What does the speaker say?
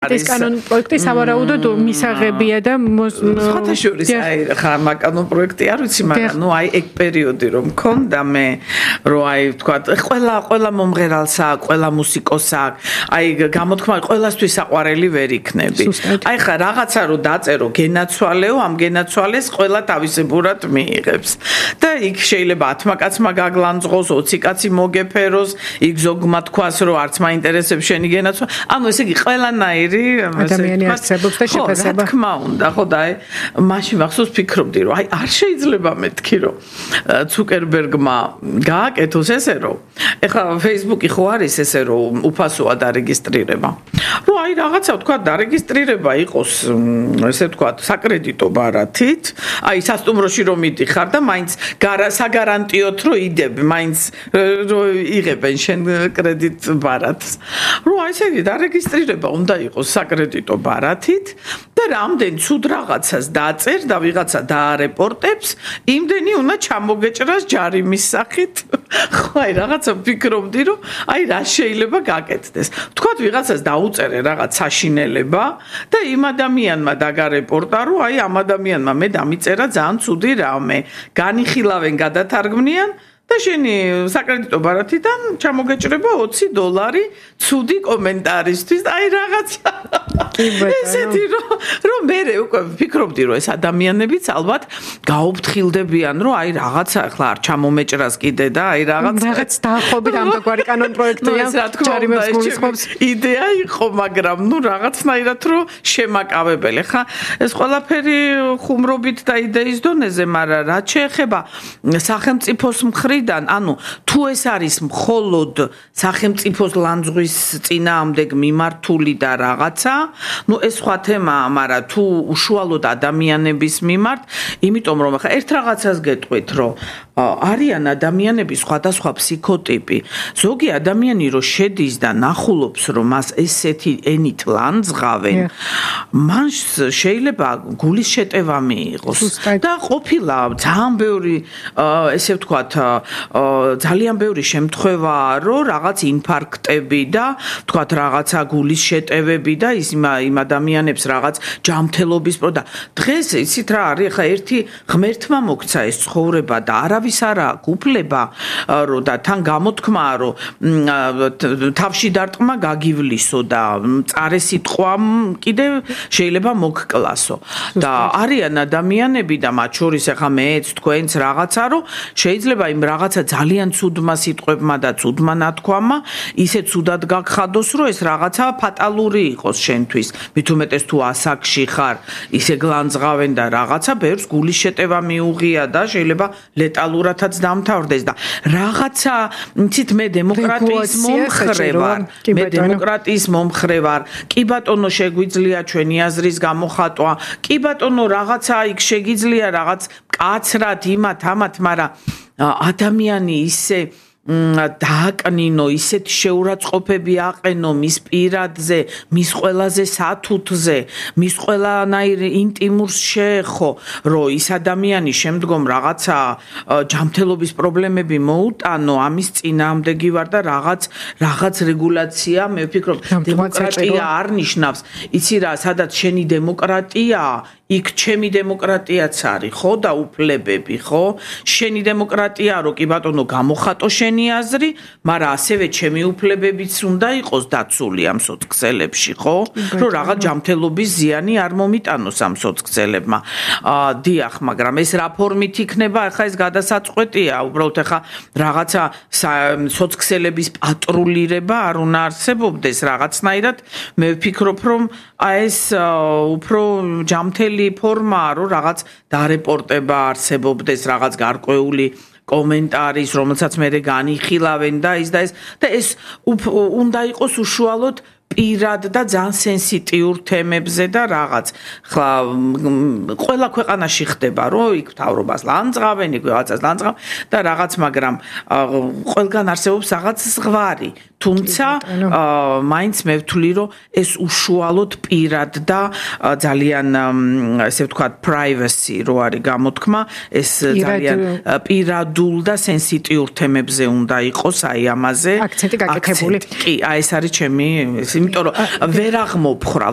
ეს კანონ პროექტი სავარაუდოდ მისაღებია და სხვათა შორის ხა კანონ პროექტი არ ვიცი, მაგრამ ეგ პერიოდი რომ მქონდა მე რომ თქვა ყველა მომღერალს აქვს, ყველა მუსიკოსს აქვს, გამოთქმა ყველასთვის საყვარელი ვერ იქნები. ხა რაღაცა რომ დაწერო გენაცვალეო, ამ გენაცვალეს ყველა თავისებურად მიიღებს. და იქ შეიძლება 10 კაცმა გაგლანძღოს, 20 კაცი მოგეფეროს, იქ ზოგმა თქვას რომ არც მაინტერესებს შენი გენაცვალე. ანუ ესე იგი ყველანაირი ადამიანი არსებობს და შეფასება. რა თქმა უნდა, ხო და მაშინ მახსოვს ფიქრობდი რომ არ შეიძლება მეთქი რომ ცუკერბერგმა გააკეთოს ესე რომ ეხლა Facebook-ი ხო არის ესე რომ უფასოა დარეგისტრირება. რომ რაღაცა თქვა დარეგისტრირება იყოს ესე თქვა საკრედიტო ბარათით, სასტუმროში რომ მიდიხარ და მაინც საგარანტიოდ რომ იდებ, მაინც რომ იღებენ შენ კრედიტ ბარათს. რომ ესე იგი დარეგისტრირება უნდა იყოს საკრედიტო ბარათით და რამდენ ცუდ რაღაცას დაწერ და ვიღაცა დაარეპორტებს, იმდენი უნდა ჩამოგეჭრას ჯარიმის სახით. ხო, რაღაცა ფიქრობდი, რომ რა შეიძლება გაკეთდეს. თქვათ ვიღაცას დაუწერე რაღაც საშინელება და იმ ადამიანმა დაგარეპორტა, რომ ამ ადამიანმა მე დამიწერა ძალიან ცუდი რამე. განიხილავენ, გადათარგმნიან და შენი საკრედიტო ბარათიდან ჩამოგეჭრება $20 ცუდი კომენტარისთვის. რაღაცა ესეთი რომ მე უკვე ვფიქრობდი რომ ეს ადამიანებიც ალბათ გაუფრთხილდებიან რომ რაღაცა ახლა არ ჩამომეჭრას კიდე და რაღაც დაახობით ამგვარი კანონ პროექტია ჯარიმებს გულისხმობს. იდეა იყო, მაგრამ რაღაცნაირად რომ შემაკავებელი. ხა ეს ყველაფერი ხუმრობით და იდეის დონეზე, მაგრამ რაც შეეხება სახელმწიფოს მხრიდან, ანუ თუ ეს არის მხოლოდ სახელმწიფოს ლანძღვის წინააღმდეგ მიმართული და რაღაცა, ეს სხვა თემაა, მაგრამ თუ უშუალოდ ადამიანების მიმართ, იმიტომ რომ ახლა ერთ რაღაცას გეტყვით, რომ არიან ადამიანები სხვადასხვა ფსიქოტიპი. ზოგი ადამიანი რო შედის და ნახულობს, რომ მას ესეთი ენით ლანძღავენ, მან შეიძლება გულის შეტევა მიიღოს. და ყოფილა ძალიან ბევრი ესე ვთქვათ, ძალიან ბევრი შემთხვევაა, რომ რაღაც ინფარქტები და ვთქვათ რაღაცა გულის შეტევები და იმ ადამიანებს რაღაც ჯანმრთელობის და დღეს იცით რა არის, ხა ერთი ღმერთმა მოგცა ეს ცხოვრება და არავის არ აქვს უფლება რომ და თან გამოთქმაა რომ თავში დარტყმა გაგივლისო და წარე სიტყვამ კიდე შეიძლება მოგკლასო და არიან ადამიანები და მათ შორის ახლა მეც თქვენც რაღაცა რომ შეიძლება იმ რაღაცა ძალიან ცუდმა სიტყვებმა და ცუდმა ნათქვამმა ისე ცუდად გაგხადოს რომ ეს რაღაცა ფატალური იყოს შენთვის. მით უმეტეს თუ ასაკში ხარ, ისე გლანძღავენ და რაღაცა ბევრს გულის შეტევა მიუღია და შეიძლება ლეტალურადაც დამთავრდეს და რაღაცა, იცით, მე დემოკრატიის მომხრე ვარ. კი ბატონო, შეგვიძლია ჩვენი აზრის გამოხატვა. კი ბატონო, რაღაცა იქ შეგიძლია რაღაც კაცრად იმათ ამათ, მაგრამ ადამიანი ისე დააკნინო, ისეთი შეურაცხყოფები აყენო მის პირადზე, მის ყველაზე სათუთზე, მის ყველანაირ ინტიმურს შეეხო, რომ ის ადამიანი შემდგომ რაღაცა ჯანმრთელობის პრობლემები მოუტანო, ამის წინააღმდეგი ვარ და რაღაც რეგულაცია, მე ვფიქრობ, დემოკრატია არ ნიშნავს. იცი რა, სადაც შენი დემოკრატიაა, იქ ჩემი დემოკრატიაც არის, ხო და უფლებები, ხო? შენი დემოკრატია, რომ კი ბატონო გამოხატო შენი აზრი, მაგრამ ასევე ჩემი უფლებებიც უნდა იყოს დაცული ამ სოციალებში, ხო? რომ რაღაც ჯანმრთელობის ზიანი არ მომიტანოს ამ სოციალებმა. დიახ, მაგრამ ეს რა ფორმით იქნება, ახლა ეს გადასაწყვეტია, უბრალოდ ახლა რაღაცა სოციალების პატრულირება არ უნდა არსებობდეს რაღაცნაირად. მე ვფიქრობ, რომ ეს უფრო ჯანმრთელი ფორმაა, რომ რაღაც დარეპორტება არსებობდეს, რაღაც გარკვეული კომენტარის, რომელსაც მე განიხილავენ და ის და ეს უნდა იყოს უშუალოდ პირად და ძალიან სენსიტიურ თემებზე და რაღაც. ხლა ყველა ქვეყანაში ხდება, რომ იქ მთავრობას ლანძღავენ, იქ რაღაცას ლანძღავენ და რაღაც, მაგრამ ყველგან არსებობს რაღაც ზღვარი. თუმცა მაინც მე ვთვლი, რომ ეს უშუალოდ პირად და ძალიან ესე ვთქვათ privacy რო არის გამოთქმა, ეს ძალიან პირადულ და სენსიტიურ თემებზე უნდა იყოს, ამაზე აქცენტი გაკეთებული. კი, ეს არის ჩემი იმიტომ რომ ვერ აღმოფხვრავთ